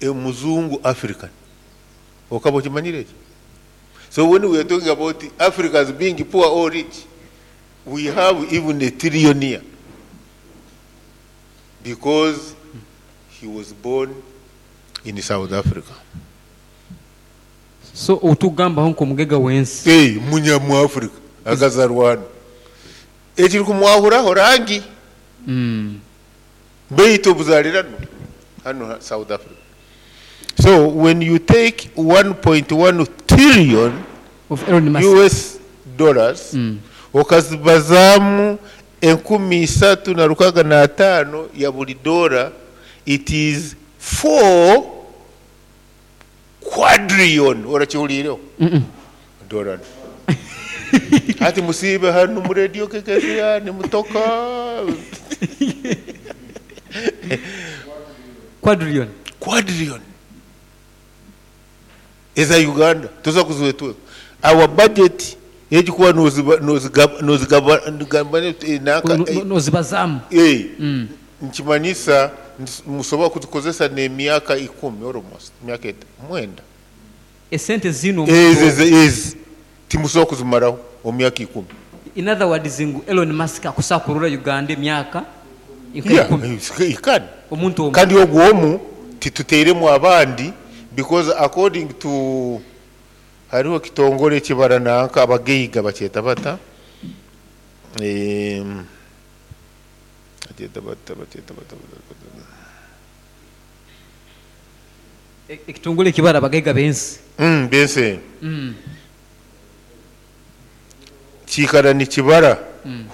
Muzungu African. Okaba okimanyire ekyo? So when we are talking about Africans being poor or rich, we have even a trillionaire because he was born in South Africa. So otugambaho nk'omugaiga w'ensi. Hey, munya mu Africa akazarwa hanu. Ekirikumwahuraho rangi. Baitu obuzalirano hanu South Africa. So when you take 1.1 trillion of Elon Musk US dollars, okazibazaamu 3,605 ya buli dola, it is 4 quadrillion. Orakihuliireho? Dola. Hati musiibe hanu mu radio kekeziya nimutoka. Quadrillion. Quadrillion. Eza Uganda tuza kuzwetweka. Our budget egikuba nozigaba Nozibazamu. Nkimanyisa musobola kuzikozesa n'emyaka 10 almost myaka 9. Esente zino ezi timusobola kuzimaraho omu myaka 10. In other words, ngu Elon Musk akusakurura Uganda emyaka Yeah, 10. he can. Omuntu omu. Kandi ogwo omu tituteiremu abandi because according to hariho kitongore ekibara nanka abagaiga bakyeta bata, bakyeta bata, bakyeta bata, bata, bata. Ekitongole ekibara abagaiga b'ensi. B'ensi. Kiikara nikibara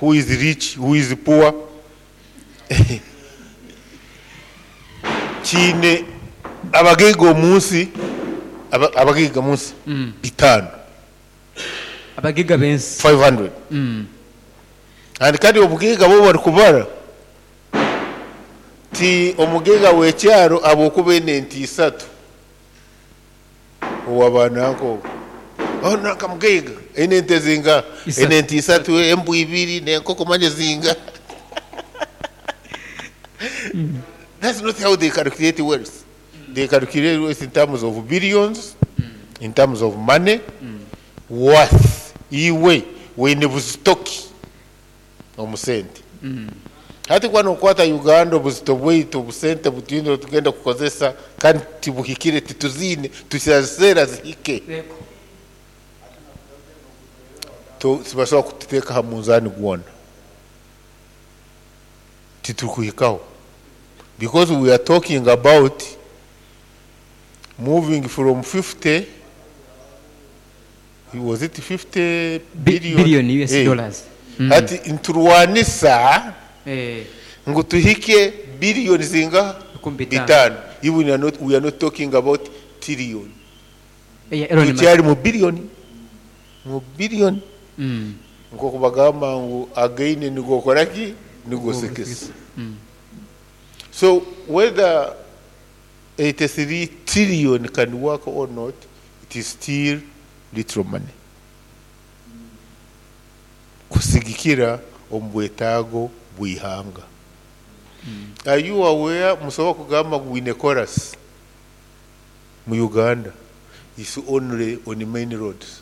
who is rich, who is poor. Kiine abagaiga omunsi, abagaiga munsi 5. Abagaiga b'ensi. 500. And kandi obugaiga bo bari kubara ti omugaiga w'ekyaro abokuba ene nti 3 owabananko. Oh, nanka mugaiga ene nte zinga Isatu. Ene nti 3 embu 2 n'enkoko manye zinga. That's not how they calculate wealth. They calculate wealth in terms of billions, in terms of money, worth. Iwe wene buzitoki omusente. Hati kwa nokwata Uganda obuzito bwaitu obusente butwine tugenda kukozesa kandi tibuhikire tituzine tusazera zihike. Tibasobola kututeeka ha munzani gwona. Titukuhikaho. Because we are talking about moving from 50, was it 50 billion? Billion US dollars. Hati nturwanisa ngu tuhike billion zinga 5. 5. Even we are not talking about trillion. Elon Musk. Tukyali mu billion. Mu billion. Nko kubagamba ngu againe nigokora ki? Nigosekesa. So whether 83 trillion can work or not, it is still little money. Kusigikira omu bwetaago bw'ihanga. Are you aware musobola kugamba ngu wine chorus mu Uganda is only on the main roads.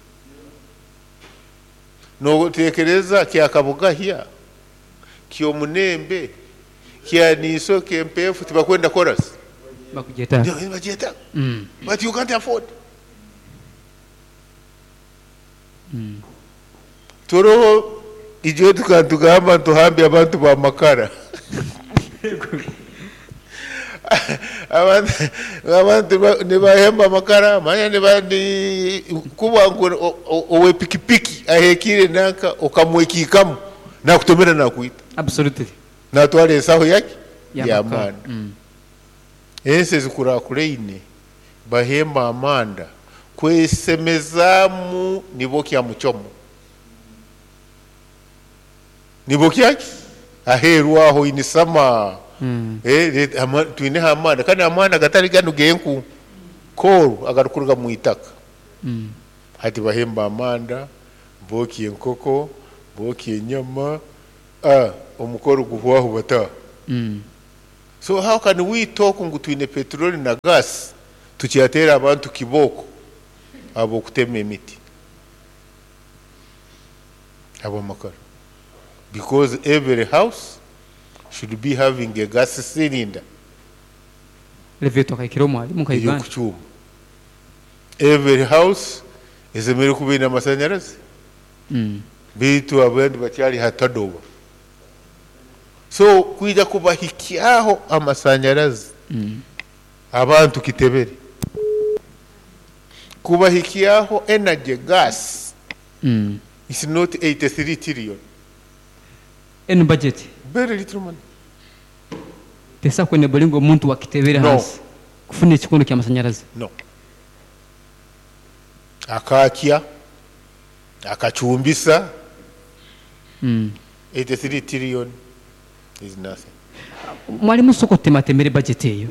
Notekereza kya Kabugahya, ky'omunembe, kya Niso, ky'empeefu tibakwenda chorus. Bakugeta. Ndio, bagyeta. But you can't afford. Toroho ijo tukatugamba tuhambe abantu ba makara. Abantu nibahemba amakara, manya nibandi kuba ngu owe pikipiki ahekire nanka okamwekikamu nakutomera nakuita. Absolutely. Natwara ensaho yake Ya ya makara. manda. Ensi ezikurakureine bahemba amanda kwesemezamu nibo kya muchomo. Nibo kyaki? Aheru aho inisama. Twine amanda kandi amanda gatari gano genku koru agarukuruga mu itaka. Hati bahemba amanda boki enkoko boki enyama, omukoro guhwaho bata. So how can we talk ngu twine petroli na gas tukyateera abantu kibooko ab'okutema emiti ab'amakara? Because every house should be having a gas cylinder. Elevator akaikira omwalimu nka Uganda. Ey'okucumba. Every house esemeriire kuba eine amasanyarazi. Baitu abandi bakyali ha tadoba. So kwija kubahikyaho amasanyarazi abantu kitebere, kubahikyaho energy gas is not 83 trillion. Enu budget very little money. Tesa kwenebolinga omuntu wakitebere No. hansi kufuna ekikondo ky'amasanyarazi. No. Akakya akacumbisa. 83 trillion is nothing. Mwalimu, soko tematemere budget eyo.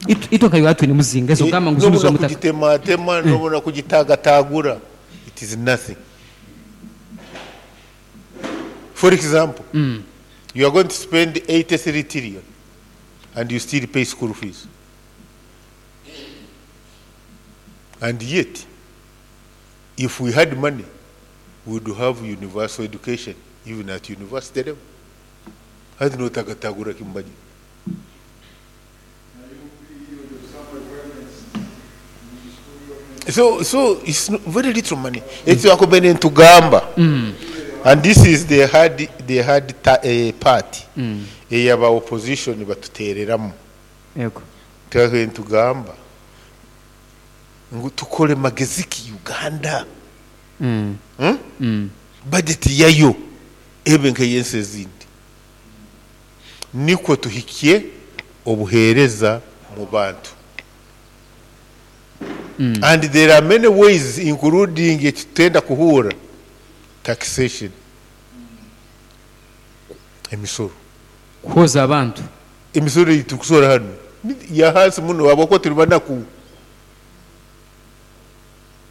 Itwe nka Uganda twine muzinga ezo gamba ngu zino Nobona z'omutaka. kugitematema, nobona kugitagatagura, it is nothing. For example, you are going to spend 83 trillion and you still pay school fees, and yet if we had money we would have universal education even at university level. Hati notagatagura kimbaji. So it's not very little money. It's wakubene ntugamba. And this is the hard part. Eyaba opposition batutereramu. Yego. Twakubene ntugamba ngu tukole magezi ki Uganda. Budget yayo ebe nk'eyensi ezindi, nikwo tuhikye obuheereza mu bantu. And there are many ways, including ekitenda kuhuura taxation, emisoro. Kuhoza abantu. Emisoro ei tukusora hanu ya hansi muno habwokuba tuli banaku.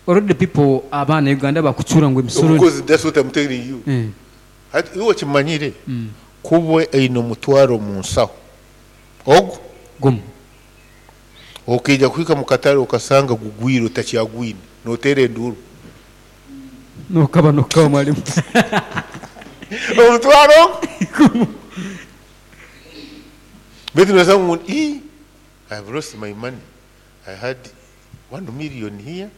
Already people, abaana Uganda bakucura ngu emisoro. Because that's what I'm telling you. Hati iwe okimanyire kuba eine omutwaro mu nsaho ogu Gumu. Okaija kuhika mu katale okasanga gugwire, otakyagwine, noteera enduuru. Nokaba mwalimu. Omutwaro baitu nosanga ngu, "Ii, I've lost my money. I had 1 million here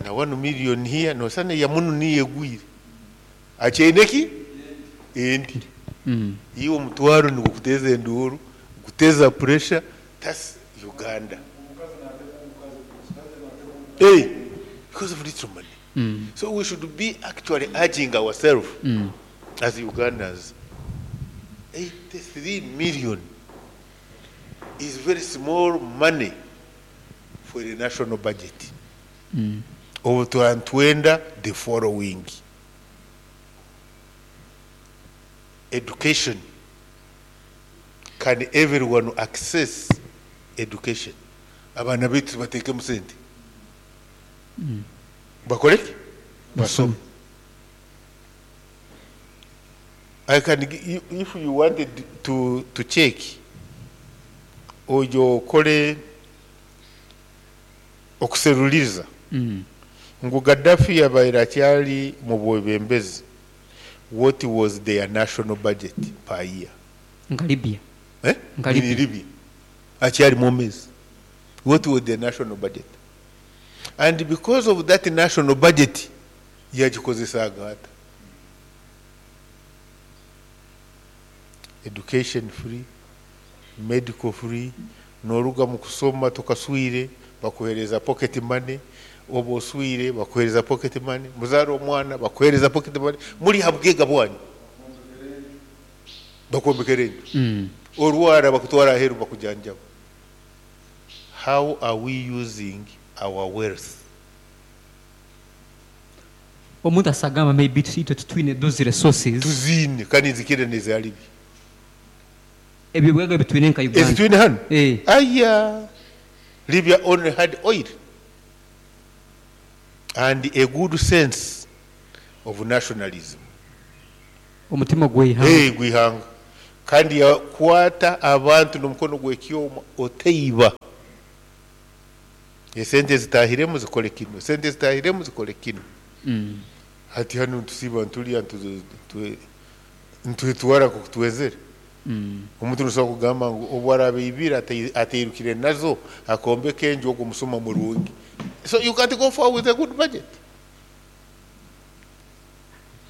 na 1 million here." Nosana yamunu niyo egwire, akyaine ki endi. Iwe omutwaro nigukuteza enduuru, guteza pressure. That's Uganda. Hey, because of little money. So we should be actually urging ourselves as Ugandans. 83 million is very small money for the national budget. Obu twenda the following: education. Can everyone access education? Abaana baitu bateekemu sente, bakole ki? Basome. I can if you wanted to check, ojo okole okuseruliza ngu Gaddafi yabaire akyali mu bwebembezi, what was their national budget per year? Nka Libya. Eh? Nka Libya. In Libya akyali mwomezi, what was the national budget? And because of that national budget yagikozesaaga ata? Education free, medical free, noruga mu kusoma tukaswire bakuhereza pocket money, oba oswire bakuhereza pocket money, muzaara omwana bakuhereza pocket money, muli ha bugega bwanyu, bakwomekera enju. Orwara bakutwara aheru bakujanjaba. How are we using our wealth? Omuntu asagamba maybe itwe tutwine those resources. Tuziine kandi nzikire neza Libya. Ebyo bwaga bitwine nka Uganda. Ezitwine hano. Eh. Aya, Libya only had oil and a good sense of nationalism. Omutima gw'eihanga. Hey, gwihanga. Kandi yakwata abantu n'omukono gw'ekyoma, otaiba. Esente zitahiremu zikole kinu, esente zitahiremu zikole kinu. Hati hanu ntusiiba ntulya, ntwetwara nk'oku twezere. Omuntu nosobola kugamba ngu obu araaba aibire atairukire nazo akombeka enju, ogwo musuma murungi. So you can't go far with a good budget.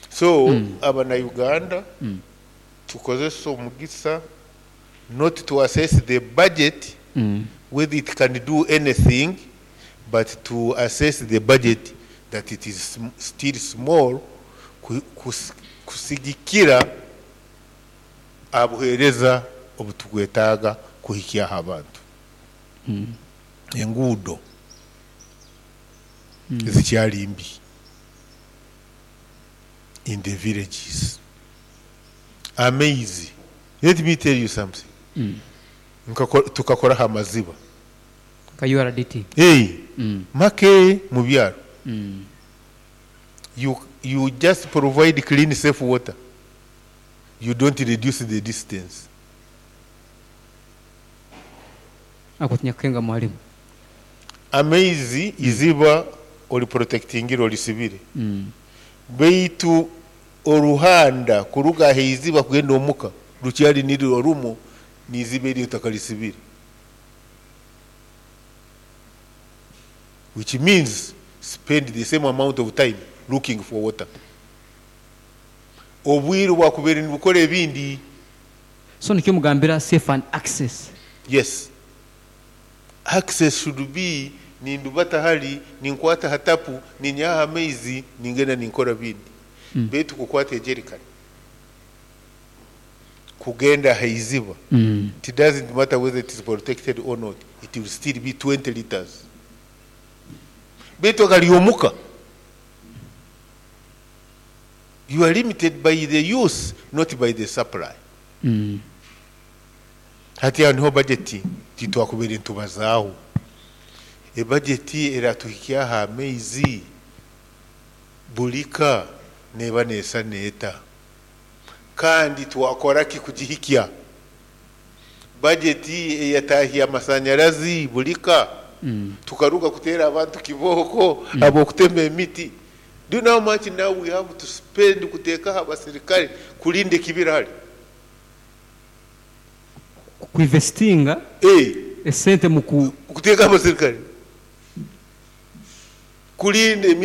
So Abanauganda, tukozese omugisa not to assess the budget, whether it can do anything, but to assess the budget that it is still small kusigikira abuheereza obutukwetaaga kuhikyaho abantu. Enguudo zikyali mbi in the villages. Amaizi, let me tell you something. Tukakoraho amaziba. Nka URDT. Hey, make mu byaro. You just provide clean, safe water. You don't reduce the distance. Ako tinyakukenga, mwalimu. Amaizi, iziba oli protectingire, olisibire. Baitu oruhanda kuruga ahaiziba kugenda omuka rukyali nirwo rumu niiziba eryo otakalisibire. Which means spend the same amount of time looking for water. Obwire bwakubaire nibukora ebindi. So nikyo mugambira safe and access. Yes. Access should be nindubata hali, ninkwata ha tapu, ninyaha amaizi, ningenda ninkora bindi. Baitu kukwata ejerikani kugenda haiziba, it doesn't matter whether it is protected or not, it will still be 20 liters. Baitu agali omuka, you are limited by the use, not by the supply. Hati aho niho budget titwakubaire ntubazaaho. Ebudget eratuhikyaho amaizi bulika neba neesa neeta, kandi twakora ki kugihikya? Budget eyatahya amasanyarazi bulika, tukaruga kuteera abantu kibooko ab'okutema emiti. Do you know how much now we have to spend kuteekaho abasirikale kulinda ekibira hali? Kuinvestinga esente mu ku Kuteeka abasirikale kulinda emiti.